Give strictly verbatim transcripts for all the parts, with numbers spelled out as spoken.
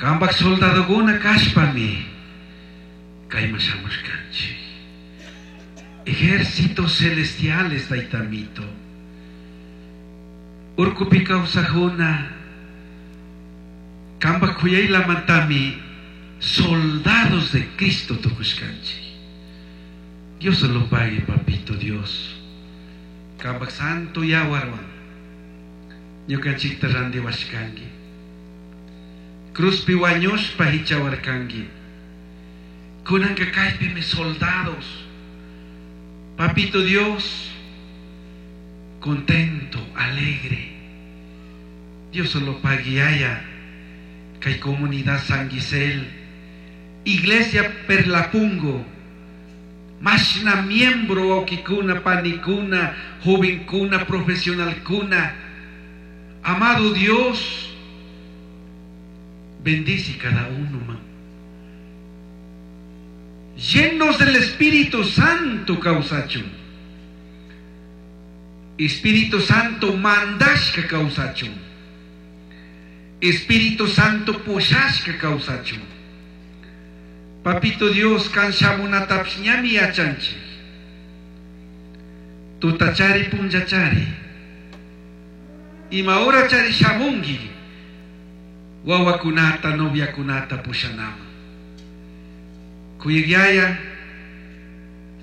Cambaj soldadokuna kashpami kayman shamushkanchik. Ejércitos celestiales, taytamito. Urkupi kawsajuna cambaj kuyaylamantami soldados de Cristo tukushkanchik. Dios se lo pague, papito Dios. Cambaj santo yawarwan. Ñukanchikta randiwashkanki. Cruzpi wañushpa hichawarkanki. Kunanka kaypimi soldados. Papito Dios, contento, alegre. Dios se lo pague haya. Kay comunidad San Gisel, Iglesia Perlapungo, mashna miembro wawkikuna, panikuna, jovenkuna, profesionalkuna. Amado Dios, bendice cada uno, man. Llenos del Espíritu Santo, kawsachun. Espíritu Santo mandashka kawsachun. Espíritu Santo pushashka kawsachun. Papito Dios, kan shamunatapish ñami yachanchik. Tutachari punllachari. Ima horachari shamunki. Wawakunata, noviakunata pushanaman. Kuyaj Yaya,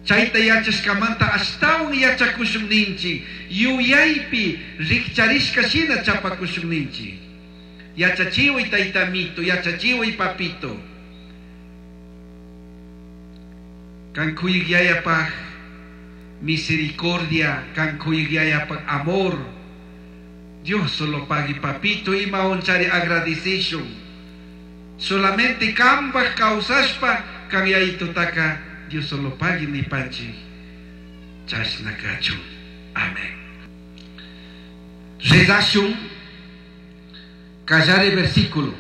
chayta yachashkamanta ashtawan yachakushun ninchik, yuyaypi rikcharishka shina chapakushun ninchik. Yachachiway taytamito, yachachiway papito. Kan kuyaj Yayapaj misericordia, kan kuyaj Yayapaj amor. Dios solo pague papito ima onchari agradecishun. Solamente kambaj kawsashpa kan yayitutaka Dios solo pague nipanchik. Chashna kachun. Amén. Rezashun. Callare versículo.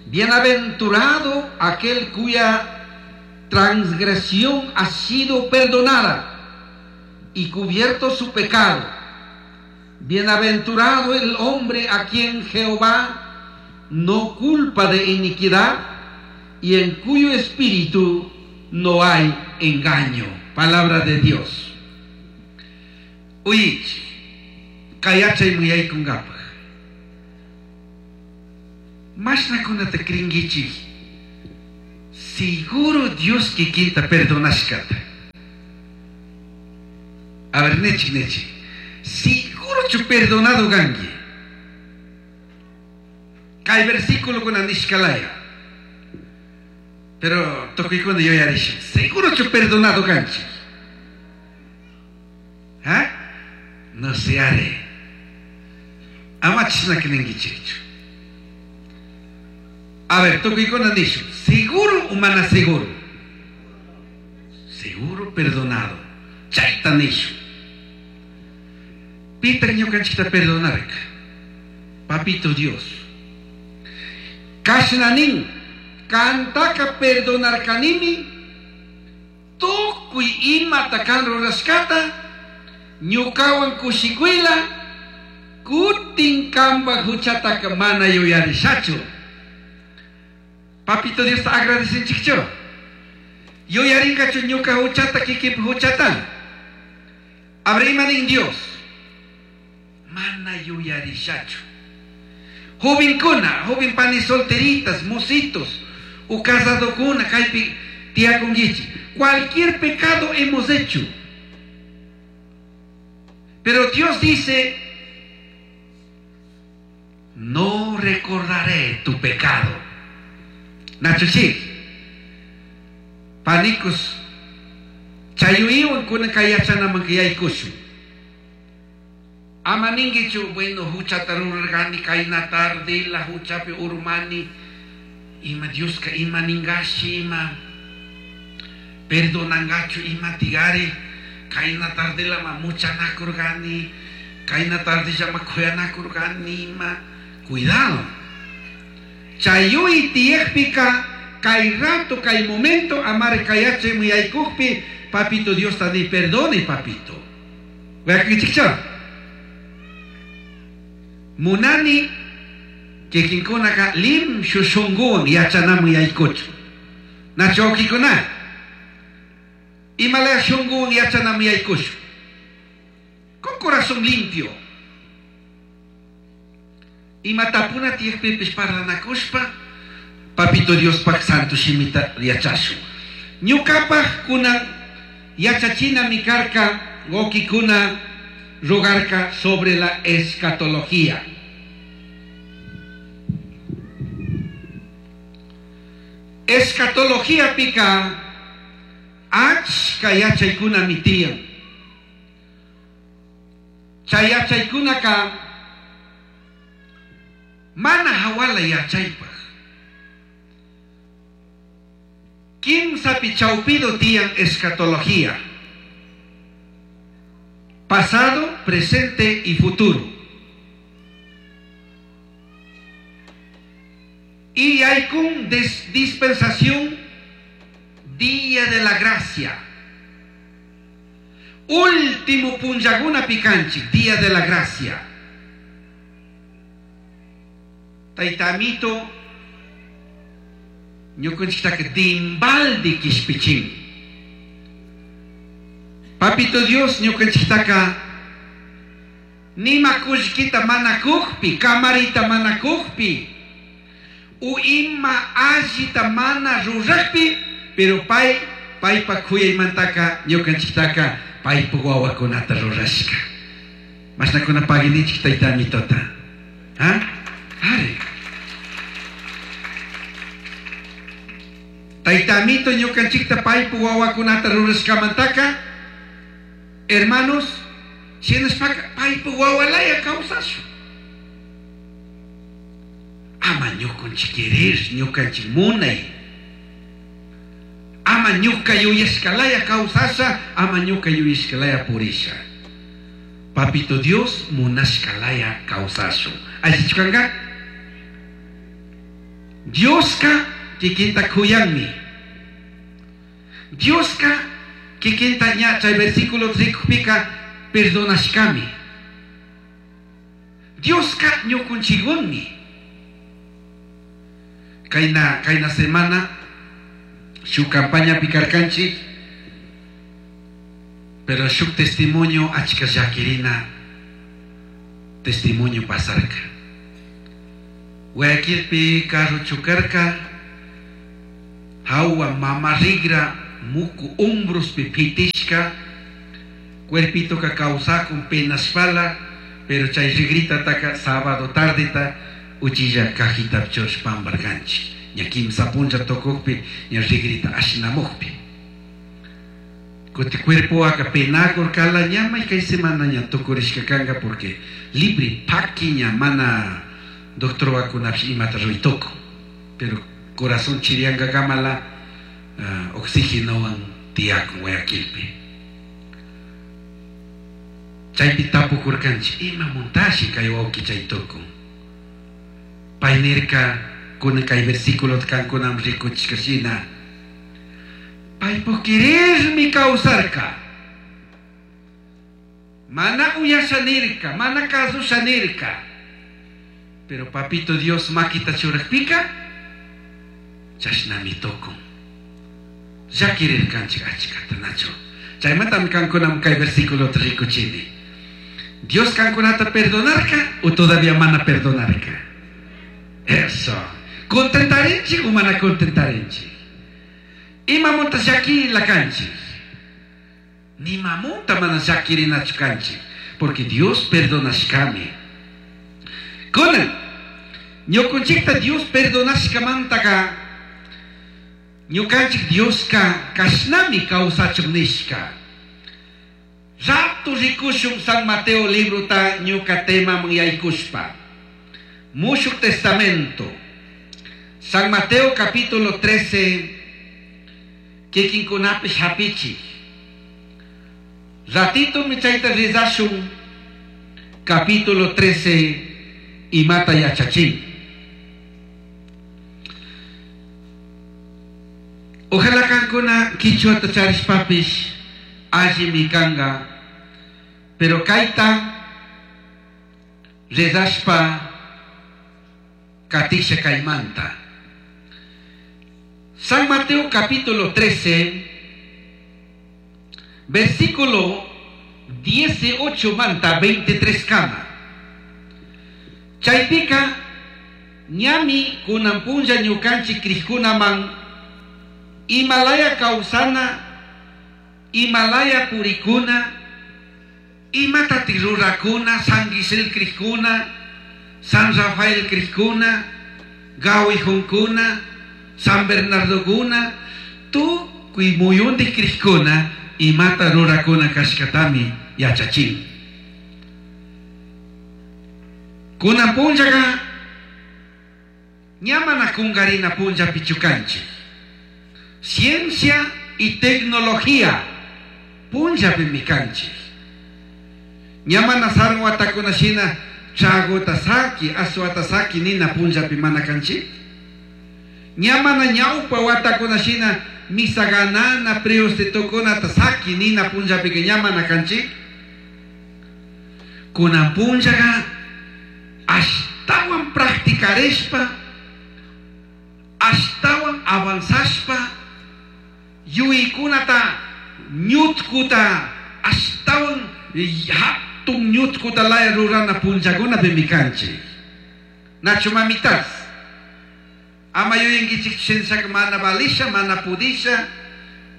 Bienaventurado aquel cuya transgresión ha sido perdonada y cubierto su pecado. Bienaventurado el hombre a quien Jehová no culpa de iniquidad y en cuyo espíritu no hay engaño. Palabra de Dios. Uyich, kayachay muyaykunkapaj. Mashnakunata krinkichik. Seguro Dios kikinta perdonashkata. A ver, nechik, nechik. Seguro chu perdonado kanki. Kay versículo kuna nishkalaya. Pero tukuykuna yuyarishun. Seguro chu perdonado kanchik. ¿Ah? No se are. Ama chashna ninkichikchu. A ver, tukuykuna nishun. Seguro o mana seguro? Seguro perdonado. Chayta nishun. Pitaq ñukanchikta perdonarka. Papito Dios. Kashna nin, kantaka perdonarkanimi, tukuy imata kan rurashkata, ñukawan kushikuyla, kutin kambaj huchataka mana yuyarishachu. Papito Dios ta agradecinchikchu. Yuyarinkachu ñuka huchata, kikinpi huchata. Abre ima nin Dios. Mana yuyarishachu. Jovenkuna, joven pani solteritas, mositos, o casadokuna, kaypi tiyakunkichik. Cualquier pecado hemos hecho. Pero Dios dice, no recordaré tu pecado. Nachuchik, panicos, chayuiwan kuna kayachanaman kayaykushun. Ama ninkichu, bueno, huchata rurarkani, kayna tarde, la huchapi urmani, ima Dioska ima ningashi, ima perdonangachu, ima tigari, kayna tarde la ma muchanakurkani, kayna tarde llama kuyanakurkani, ima, cuidado. Chayui tiyajpika, kay rato, kay momento, amar kayache muyaykukpi, papito Dios tani perdone, papito. Munani Kikinkunaka limshu shunguwan yachanaman yaykuchu. Nachu wawkikuna? Imalaya shunguwan yachanaman yaykushun. Con corazón limpio. Ima tapuna tiyakpipish parlanakushpa, Papito Diospaj santo shimita yachashun. Ñukapaj kunan yachachinami karka wawkikuna rogarka sobre la escatología. Escatología pika achka yachaykunami tiyan. Chay yachaykunaka mana hawala yachaypaj. Kimsapi chawpido tiyan escatología. Pasado, presente y futuro. Y hay con dispensación día de la gracia. Último punllaguna picanchi, día de la gracia. Tayta amito ñukanchiktaka dimbaldi kishpichin. Papito Dios ñukanchiktaka nima kullkita mana kukpi, kamarita mana kukpi, u ima allita mana rurajpi, pero pay paypa kuyaymantaka ñukanchiktaka paypa wawakunata rurashka. Mashnakuna paginichik tayta amitota. ¿Ah? Are. Tayta amito ñukanchikta paypa wawakunata rurashkamantaka, hermanos, shinashpaka paypa wawalaya kawsashun. Ama ñukanchik querer, ñukanchik munay. Ama ñuka yuyashkalaya kawsasha, ama ñuka yuyashkalaya purisha. Papito Dios munashkalaya kawsashun. Allichu kanka? Dioska kikinta kuyanmi. Dioska kikinta ña chay versículo rikupika perdonashkami. Dioska ñukunchigunmi. Kayna kayna semana shuk campaña pikarkanchik, pero shuk testimonio achka llakirina testimonio pasarka. Guayaquilpi carro chukarka, hawa mama rigra muku hombrospi pitishka, cuerpito ka kawsakun penashpala, pero chay rigrita taka sábado tardeta uchilla cajita church pambarkanchik. Ña kimsa punlla tokukpi ña rigrita ashnamukpi. Kuti cuerpo aka penakurkala ña may kay semana ña tukurishka kanka porque libre paki ña mana doctor wakunapish imata ruytuku. Pero corazón chirianga kamala uh, oxígenowan tiyakun Guayaquilpi. Chaypi tapukurkanchik ima muntashi kay wawki chay tukun. Pay nirka kunan kay versículo kankunam rikuchishka shina. Paypuk querermi kawsarka. Mana uyasha nirka, mana kasusha nirka. Pero papito Dios makita churakpika chashnami tukun. Llakirirkanchik achkata nachu. Chaymantami kankunam kay versículo rikuchini. Dios kankunata perdonarka o todavía mana perdonarka. Eso. Contentarinchik o mana contentarinchik. Ima munta llaki la kanchik. Nima munta mana llakirinachu kanchik. Porque Dios perdonashkami. Kunan ñukunchikta Dios perdonashkamantaka ñukanchik Dioska kashnami kawsachun nishka. Rato rikushun San Mateo librota ñuka temaman yaykushpa. Mushuk Testamento. San Mateo capítulo trece. Kikinkunapish hapichik. Ratito michayta rizashun capítulo trece imata yachachin. Ojalá kankuna kichwata charishpapish allimi kanga, pero kaita rezashpa Katisha kaymanta. San Mateo capítulo trece, versículo dieciocho manta veintitrés kama. Chaypika ñami kunan punlla ñukanchik krikkunaman imalaya kawsana, imalaya purikuna, imatatik rurakuna, San Gisel krikuna, San Rafael krikuna, Gawijunkuna, San Bernardokuna, tukuy muyuntik krikuna, imata rurakuna kashkatami yachachin. Kunan punllaka ña mana kunkarina punlla pichukanchik. Ciencia y tecnología punllapimi kanchik. Ña mana sarun watakuna shina chagota saki, aswata saki nina punllapi mana kanchik. Ña mana ñawpa watakuna shina misa ganana priustitukunata saki nina punllapika ña mana kanchik. Kunan punllaka ashtawan practicarishpa, ashtawan avanzashpa, yuykunata ñutkuta ashtawan hatun ñutkuta laya rurana punllakunapimi kanchik. Nachu mamitas, ama yuyankichik shinshaka mana valisha, mana pudisha,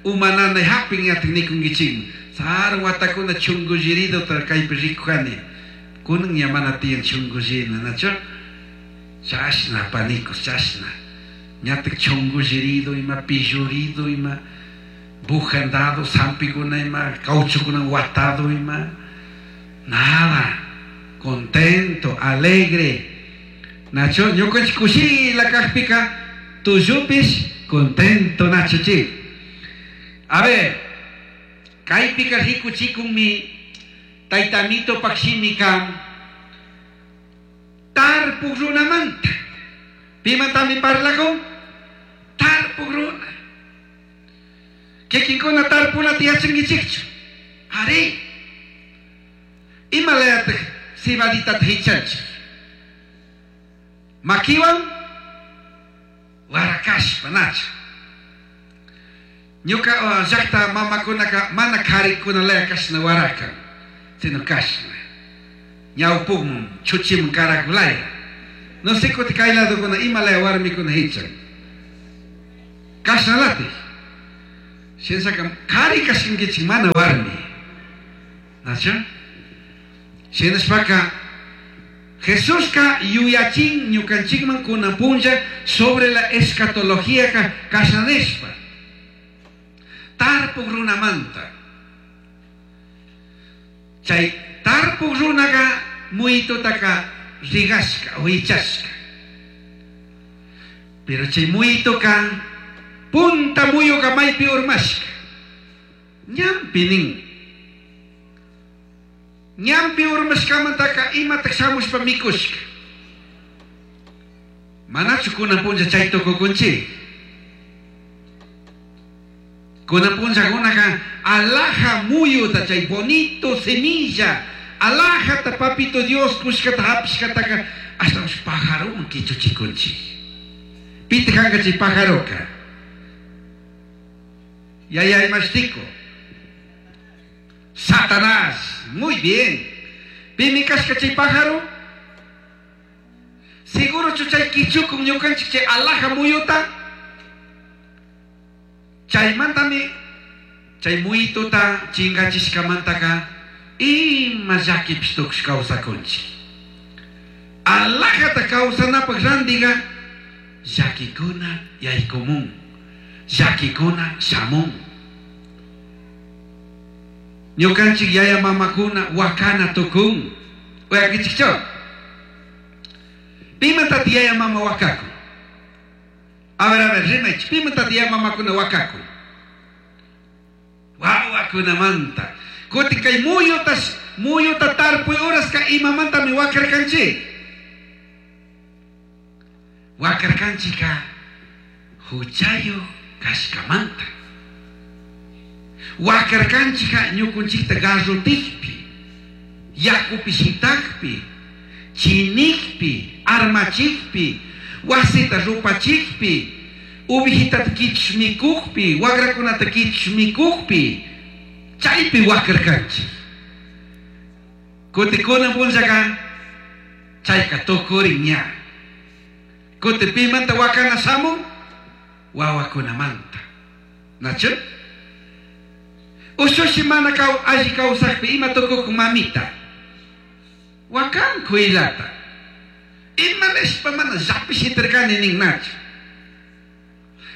umanana hapin yatik nikunkichikmi. Sarun watakuna chungulliriduta kaypi rikujani. Kunan ña mana tiyan chungullina, nachu? Chashna panicos, chashna. Ñatik chungullirido ima, pillurido ima, bujandado, sampikuna ima, cauchukuna watado ima. Nada, contento, alegre. Nacho, ñukanchik kushila kajpika, tuyupish contento, nacho chi. A ver, kaypika rikuchikunmi taytamito pakshimika tarpuk runamanta. Pimantami parlakun? Tarpuk runa. Kikinkuna tarpunata yachankichikchu? Ari. Imalayataj cebaditata hichanchik? Makiwan warakashpa, nacho. Ñuka llaqta mamakunaka mana karikunalaya kashna warakan, sino kashna. Ñawpukmun chuchimun karakulaya. No sé kuti kay ladokuna imalaya warmikuna hichan. Kashnalatik. Shinsaka kari kashinkichik mana warmi. Nacho? Shinashpaka Jesuska yuyachin ñukanchikman kunan punlla sobre la escatología ka kashnanishpa. Tarpuk runamanta. Chay tarpuk runaka muytutaka rigashka o hichashka. Pero chay muytuka punta muyuka maypi urmashka. Ñampi nin. Ñampi urmashkamantaka imatak shamushpa mikushka. Manachu kunan punlla chay tukukunchik? Kunan punllakunaka alhaja muyuta chay bonito semilla, alhajata papito Dios kushkata hapishkataka ashtawanshi pajaroman kichuchikunchik. Pitaq kanka chay pajaroka? Yaya imashtiko. Satanás. Muy bien. Pimi kashka chay pájaro? Seguro chay kichukun ñukanchik chay alhaja muyuta? Chaymantami chay muyituta chingachishkamantaka ima llakipish tukush kawsakunchik. Alhajata kawsanapaq randiqa llakikuna yaykumun, llakikuna shamun. Ñukanchik yaya mamakuna wakana tukun. Uyakichikchu? Pimantataq yaya mama wakakun? A ver, a ver, rimaychik. Pimantataq yaya mamakuna wakakun? Wawakunamanta. Kutin kay muyuta, muyuta tarpuy uraska imamantami wakarkanchik? Wakarkanchika huchayuq kashkamanta. Wakarkanchika ñukunchikta garrotikpi, yakupi shitakpi, chinikpi, armachikpi, Wasita rupachikpi, ubijitata kichush mikukpi, wagrakunata kichush mikukpi, chaypi wakarkanchik. Kuti kunan punllaka chayka tukurin ña. Kuti pimanta wakana shamun? Wawakunamanta. Nachu? Ushushi mana kaw alli kawsakpi ima tukukun mamita? Wakan kuylata. Ima nishpa mana llapi shitarkani nin nachu.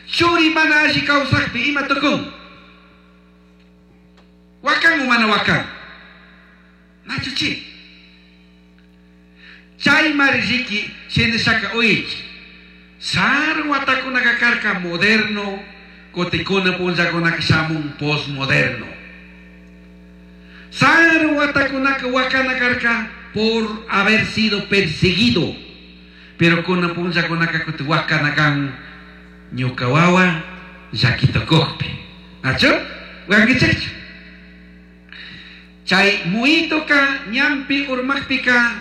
Churi mana alli kawsakpi ima tukun? Wakan o mana wakan? Nachu chi? Chay mari riki shinashaka uyichi. Sarun watakunaka karka moderno, kutikuna punllakunaka shamun postmoderno. Sarun watakunaka wakana karka por haber sido perseguido. Pero kuna punllakunaka kuti wakana kan ñuka wawa llakitukuqpi. Nachu? Wakankichikchu? Chay muhituka ñanpi urmakpika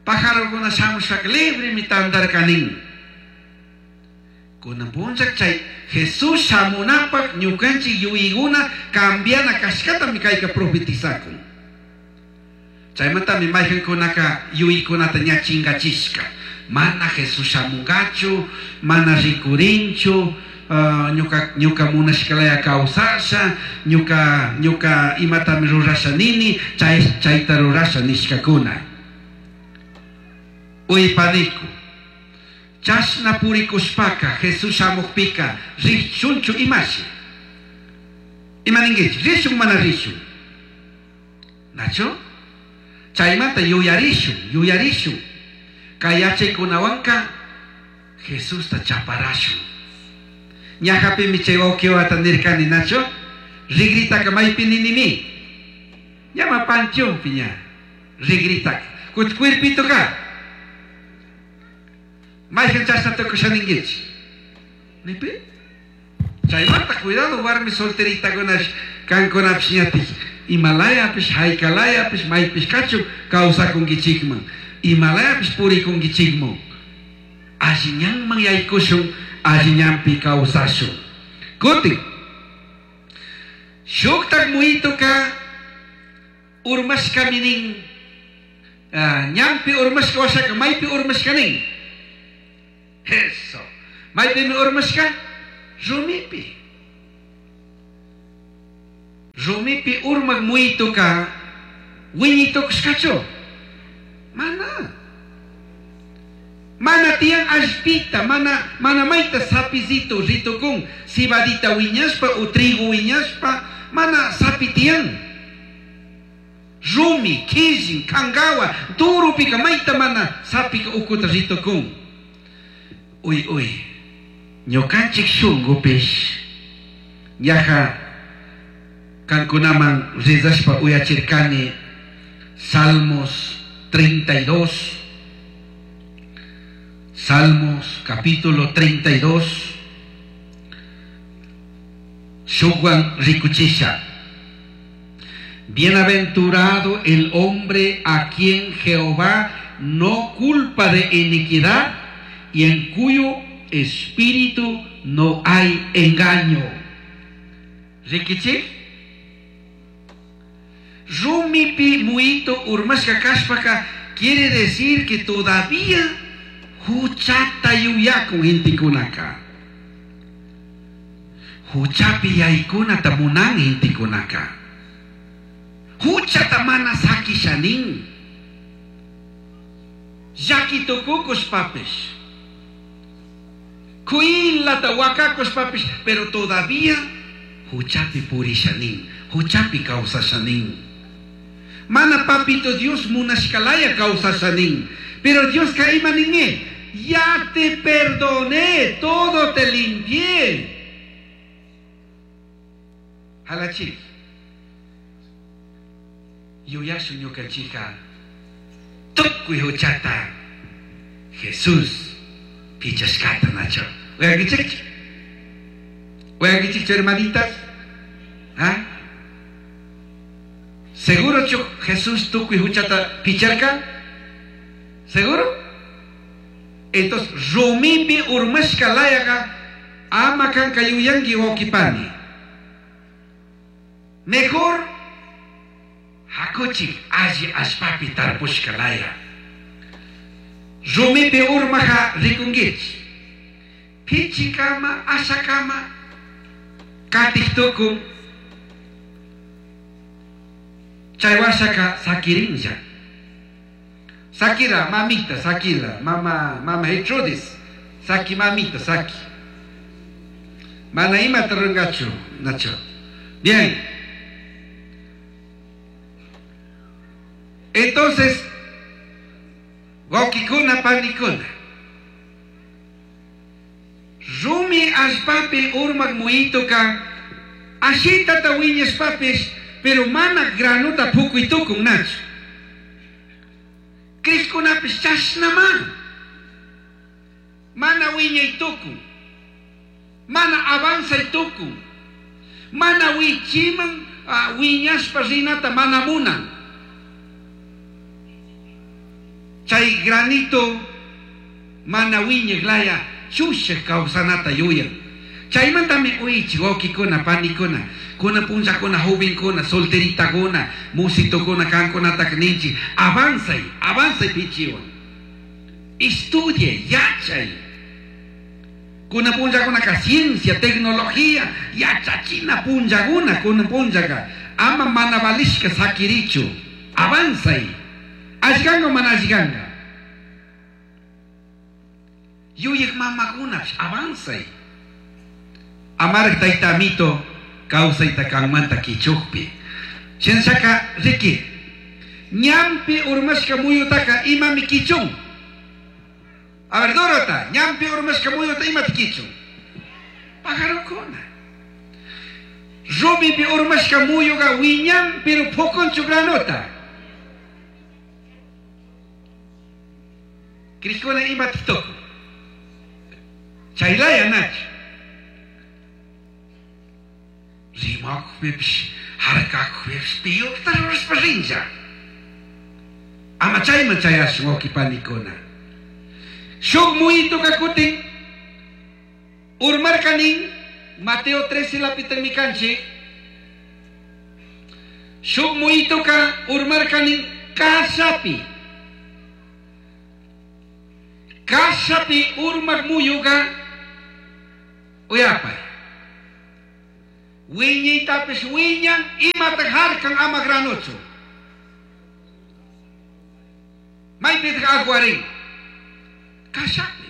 pajarokuna shamushpaka libremi tandarka nin. Kunan punlla chay Jesús shamunapaq ñukanchik yuyaykuna cambiana kashkatami kayka profetizakun. Chaymantami mayqankunaka yuyaykunata ña chinkachishka. Mana Jesús shamunkachu, mana rikurinchu, uh, ñuka, ñuka munashkalaya kawsasha, ñuka, ñuka imatami rurasha nini, chay, chayta rurasha nishkakuna. Uypaniku. Chashna purikushpaka Jesús shamukpika rishunchu imashi. Ima ninkichik? Rishun mana rishun? Nachu? Chaymanta yuyarishun, yuyarishun. Kay yachaykunawanka Jesusta chaparashun. Ñajapimi chay wawqiwata nirkani, nachu? Rigritaka maypi ninimi. Ñama panteonpi ña. Rigritaka. Kuti cuerpitoka. Mayqan chashna tukusha ninkichik? Nipi? Chaymanta cuidado warmi solteritakunash kankunapish ñatik imalayapish haykalayapish maypish kachun kawsakunkichikman. Imalayapish purikunkichikman. Alli ñanman yaykushun, alli ñanpi kawsashun. Kutin. Shuktak muhituka urmashkami nin. Uh, ñanpi urmashka washaka maypi urmashka nin. Eso. Maypimi urmashka? Rumipi. Rumipi urmak muhituka wiñitukushkachu? Mana. Mana tiyan allpita, mana, mana mayta sapizito ritukun, cebadita wiñashpa o trigo wiñashpa, mana sapi tiyan. Rumi, killin, kangawa, durupika mayta mana sapika ukuta ritukun. Uy, uy, ñukanchik shunkupish, ñaja kankunaman rezashpa uyachirkani Salmos treinta y dos, Salmos capítulo treinta y dos, Shukwan rikuchisha. Bienaventurado el hombre a quien Jehová no culpa de iniquidad y en cuyo espíritu no hay engaño. Rikichik? Rumipi muito urmashka kashpaka quiere decir que todavía huchata yuyakun hintikunaka. Huchapi yaykunata munan hintikunaka. Huchata mana sakishanin. Llakitukukushpapish. Kuilata wakakushpapish, pero todavía huchapi purishanin, huchapi kawsashanin. Mana papito Dios munashkalaya kawsashanin. Pero Dios ka ima ninge, ya te perdoné, todo te limpié. Halachik. Yuyashu ñukanchika tukuy huchata Jesús pichashkata nacho. Uyankichikchu? Uyankichikchu hermanitas? ¿Ah? ¿Seguro chu Jesús tukuy huchata picharka? ¿Seguro? Entonces, rumipi urmashka layaga ama kanka yuyanki wawkipani. Mejor hakuchik alli allpapi tarpushka laya. Rumipi urmaja rikunkichik. Pichikama, ashakama, katik tukun. Chay washaka sakirinlla. Sakira, mamita, sakila, mama, mama Gertrudis, saki mamita, saki. Mana imata rungachu, Nacho. Bien. Entonces, wawkikuna panikuna. Rumi allpapi urmak muyituka, ashitata wiñashpapish, pero mana granuta pukuy tukun, Nacho. Krishkunapish chashnama. Mana wiñay tukun. Mana avanzay tukun. Mana wichiman uh, wiñashpa rinata mana munan. Chay granito mana wiñaj laya chushaj kawsanata yuyan. Chaymantami uichi wawkikuna panikuna, kuna punllakuna jovenkuna, solteritakuna, musitukuna, kankunataka ninchik, avanzay, avanzay pichiwan. Estudie, yachay. Kuna punllakunaka ciencia, tecnología, yachachina punllakuna, kuna punllaka. Ama mana valishka sakirichu, avanzay. Allgango mana allganga. Yuyaj mamakunapish, avanzay. Amaraj tayta amito kawsayta kanmanta kichukpi. Shinashaka riki, ñampi urmashka muyutaka imami kichun. A ver, Dorota, ñampi urmashka muyuta imata kichun. Pajarokuna. Rumipi urmashka muyuka wiñan, pero pukunchu granota. Krishkuna imata tukun. Chaylaya nachu. Rimakpipish, harkakpipish, piyukta rurashpa rinlla. Ama chayman chayashun wawqi panikuna. Shuk muyituka kutin urmarkanin Mateo trece lapitami kanchik. Shuk muyituka urmarkanin kashapi. Kashapi urmak muyuka uyapay. Wiñaytapish wiñan imataq harkan ama granuchu. Maypitaq aguarin. Kashapi.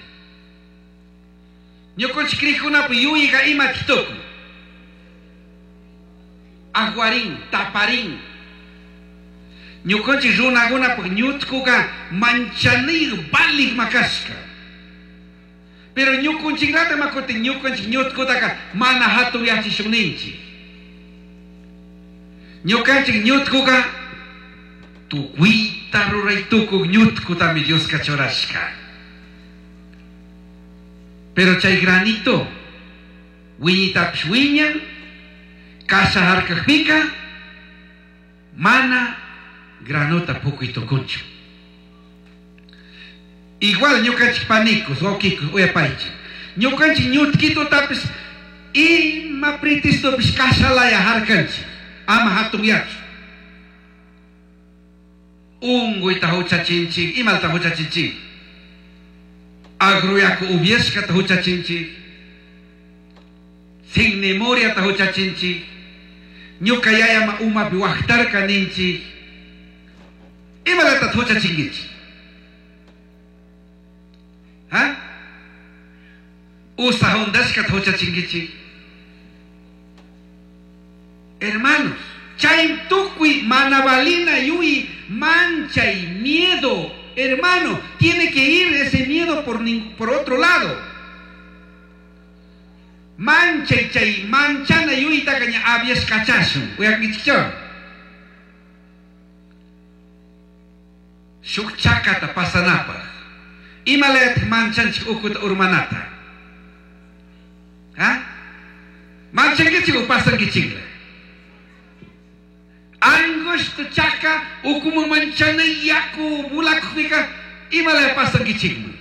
Ñukunchik krikunapi yuyqa imataq tukun. Aguarin, taparin. Ñukunchik runakunapaq ñutkuqa manchanir valik makashka. Pero ñukunchiklata makutin ñukunchik ñutkutaka mana hatun yachishun ninchik. Ñukanchik ñutkuka tukuyta ruray tukuq ñutkutami Dioska churashka. Pero chay granito wiñitapish wiñan, kasha harkakpika mana granota pukuy tukunchu. Igual ñukanchik panikus, wawkikus, uyapaychik. Ñukanchik ñutkitutapish ima pretextopish kashalaya harkanchik. Ama hatun yachu. Unkuyta huchachinchik, imalta huchachinchik. Agruyaku ubyashkata huchachinchik. Sin memoriata huchachinchik. Ñuka yayama umapi waqtarka ninchik. Imalata huchachinkichik. ¿Ah? Usa hundashkata huchachinkichik. Hermanos, chay tukuy manabalina yui mancha y miedo, hermano, tiene que ir ese miedo por, por otro lado. Mancha y chay manchana yui takaña abias kachashun. Uyakichicho. Shuk chakata pasanapaj. Imalayataq manchanchik ukuta urmanata. ¿Ah? Manchankichik o pasankichikla. Angosto chaka ukuman manchana yaku bulakupika imalaya pasankichikman.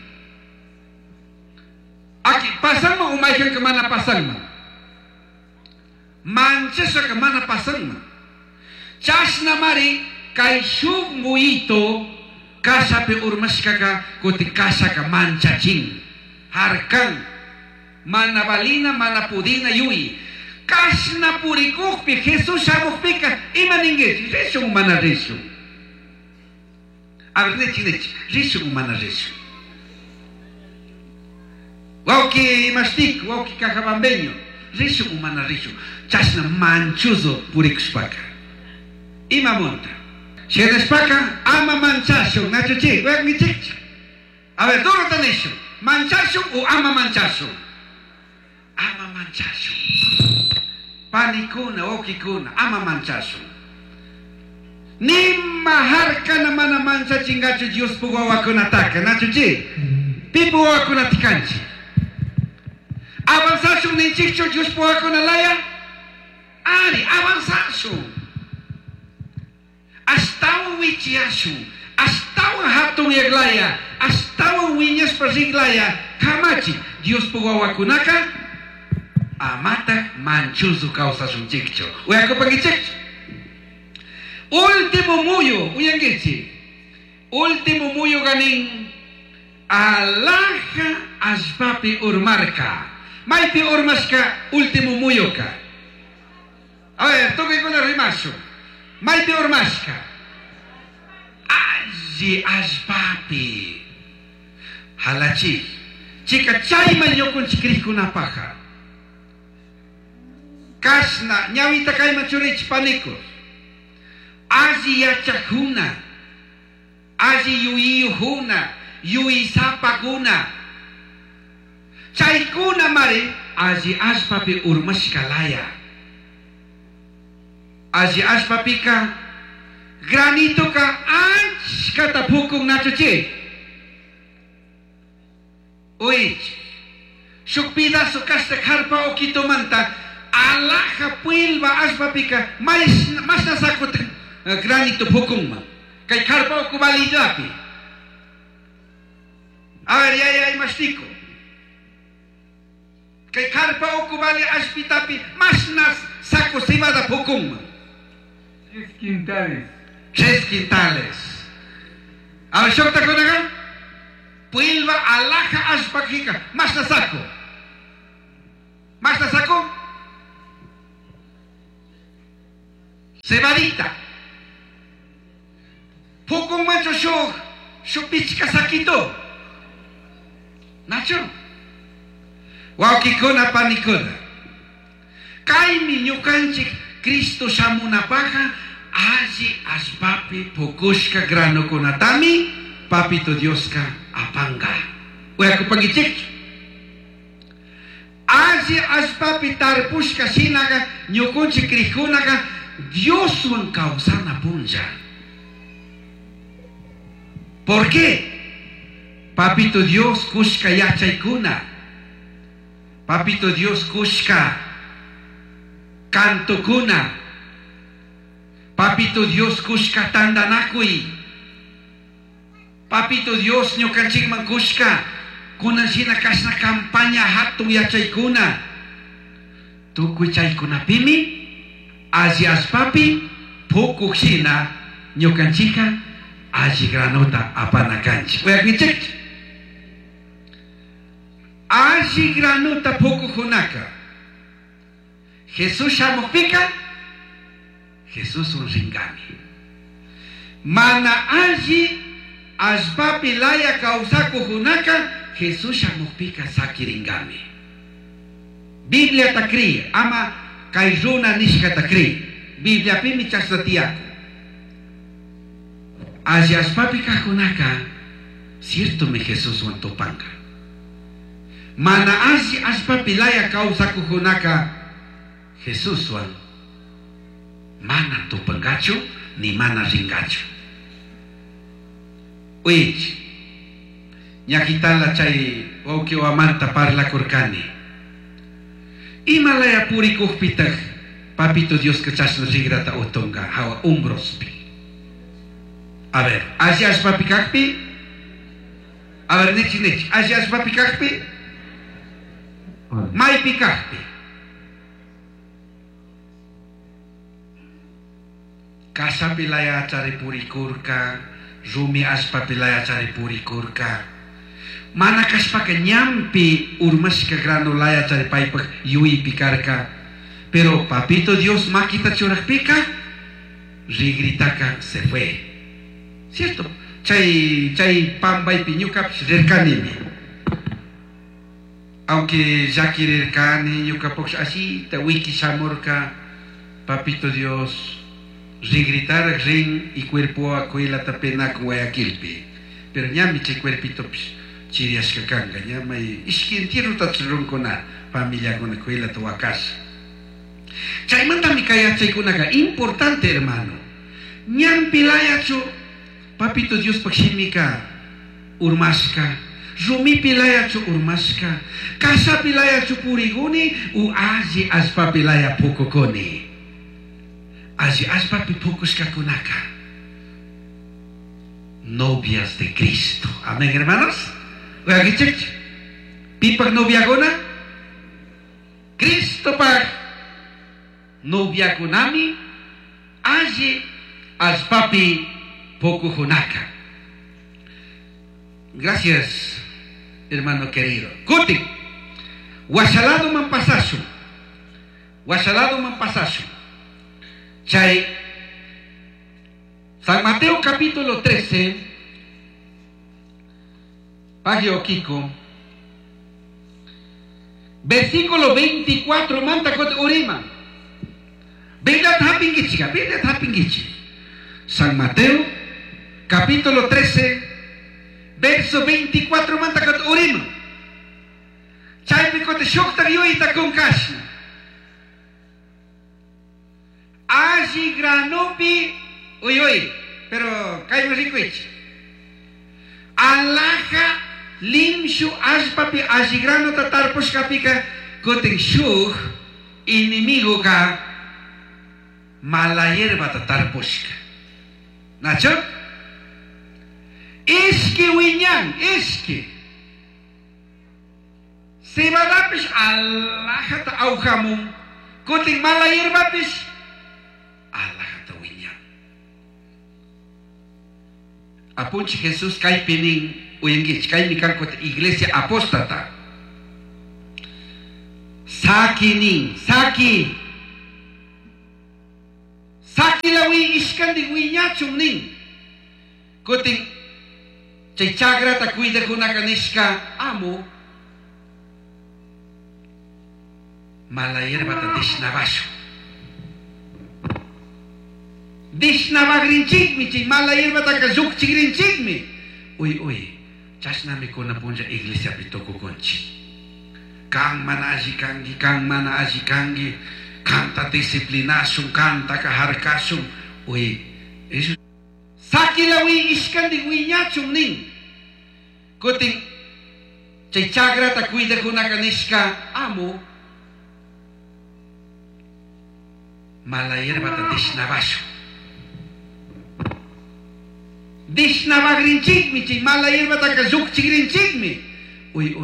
Aki pasanman o mayqanka mana pasanman. Manchashaka mana pasanman. Chashnamari kay shuk muyito kashapi urmashkaka kutin kashaka manchachin. Harkan. Mana valina, mana pudina yuyi. Kashna purikukpi Jesús shamukpika ima ninguichi? Rishun mana rishun. A ver, nichi, nichi. Rishun mana rishun. Wawki imashtik, wawki cajabambeño. Rishun mana rishun. Chashna manchuzo purikushpaka. Ima munta. Shinashpaka ama manchashun. Nachuchi, weak. A ver, duro tanishun. Manchashun o ama manchashun. Ama manchashun. Panikuna, wawkikuna, ama manchashun. Nima harkana mana manchachingachu Diospuk wawakunataka, nachuchi. Pipu wawakunata kanchik. Avanzashun ninchikchu Diospuk wawakuna laya? Ari, avanzashun. Ashtawan wichiyashun, ashtawan hatun yaglaya, ashtawan wiñashpa riglaya, kamachi Diospuk wawakunaka amatak manchuzu kawsashunchikchu. Uyakupankichikchu. Último muyu, uyankichi. Último muyu ganin alaja allpapi urmarka. Maypi urmashka último muyuka. A ver, tukuykuna rimashun. Maypi urmashka. Alli allpapi. Halachi. Chika chayman ñukunchik krikkunapaja. Kashna ñawita kayman churichi panikus. Alli yachakuna, alli yuyiyujuna, yuyisapakuna. Chaykuna mari alli allpapi urmashka laya. Alli allpapika granitoka achkata pukun nachuchi. Uich, shuk pedazo kashta karpa okitomanta alaja puilba allpapika mashna sakut granito pukunman. Kay karpa okubalillapi. A ver, ya ya imashtico. Kay karpa okubali allpitapi mashna saco cebada pukunman. Tres quintales. Tres quintales. A ver, shukta kunaga. Puilba alaja allpakika mashna saco. Mashna saco. Cebadita. Pukun mancho shuk, shuk pichka sakito. Nacho. Wawkikuna panikuna. Kaymi ñukanchik Cristo shamunapaja alli allpapi pukushka granokunatami papito Dioska apanga. Uyakupankichik. Alli allpapi tarpushka shinaga ñukunchik krikunaga Dioswan kawsana punlla. ¿Por qué? Papito Dios kushka yachaykuna. Papito Dios kushka kantokuna. Papito Dios kushka tandanakuy. Papito Dios ñukanchikman kushka kunan shina kashna campaña hatun yachaykuna. Tukuy chaykunapimi alli allpapi pukuk shina ñukanchika alli granota apana kanchik. Uyakinchik. Alli granota pukukkunaka. Jesús shamukpika Jesús un ringami. Mana alli allpapi laya kawsakukunaka Jesús shamukpika sakiringami. Biblia ta kri, ama kay runa nishkata kri. Bibliapimi chashna tiyaku. Alli allpapi kajkunaka ciertomi Jesuswan tupanka. Mana alli allpapi laya kawsakukunaka Jesuswan mana tupankachu ni mana rinkachu. Uich, ñakitala chay wawqi wamanta parlakurkani. Ima laya purikukpitaj papito Dioska chashna rigrata utunka hawa umbrospi. A ver, alli allpapi kakpi. A ver, nichi nichi, alli allpapi kakpi. Maypi kaqpi. Kashapi layachari purikurka, rumi allpapi layachari purikurka. Mana kashpaka ñampi urmashka grano layachari paypaq yuypi karka. Pero papito Dios makita churaqpika, rigritaka se fue. ¿Cierto? Chay, chay pambaypi ñukapish rirkanimi. Aunque llakirirkani ñukapush asita wiki shamurka, papito Dios rigritar rin y cuerpo akuilata penaku Guayaquilpi. Pero ñami chay cuerpitopish chiriashka kanka, ñamay ishki entierrota runkuna familiakuna kuilata wakasha. Chaymantami kay yachaykunaka importante, hermano. Ñampi layachu papito Diospaq shimika urmashka, rumipi layachu urmashka, kashapi layachu puriguni u alli allpapi laya pukukuni. Alli allpapi pukushkakunaka novias de Cristo. Amén, hermanos. Oiga, pipak noviakuna? Cristo pak noviakunami alli allpapi pukujunaka. Gracias, hermano querido. Kutin, washalado man pasasu. Washalado man pasasu. Chay, San Mateo capítulo trece, Pagio Kiko, versículo veinticuatro, manta kot urima. Biblia hapingichi, Biblia hapingichi. San Mateo capítulo trece, verso veinticuatro, manta kot urima. Chaypi kote shukta yuyta kun kashna. Alli granopi, uy uy, pero kayman rikuichi. Alaja limshu allpapi alli granota tarpushkapika kutin shuk enemigo ka mala hierbata tarpushka. Nacho? Ishki wiñan, ishki. Cebadapish alajata awjamun, kutin mala hierbapish alajata wiñan. Apunchi Jesús kaypinin uyankichik, kaymi kanku iglesia apóstata. Sakinin, saki. Saki lawi ishkandik wiñachun nin. Kutin chay chakrata cuidakunaka nishka amo mala hierbata dishnabashu. Dishnabagrinchikmi chay mala hierbataka llukchigrinchikmi. Uy uy, chashnami kuna punlla iglesiapi tukukunchik. Kan mana alli kanki, kan mana alli kanki, kanta disciplinashun, kantaka harkashun. Uy, eso. Sakilawi ishkandik wiñachun nin. Kutin chay chakrata cuidakunaka nishka amo mala hierbata dishnabashu. Dishnabagrinchikmi chay mala hierbataka llukchigrinchikmi. Uy uy.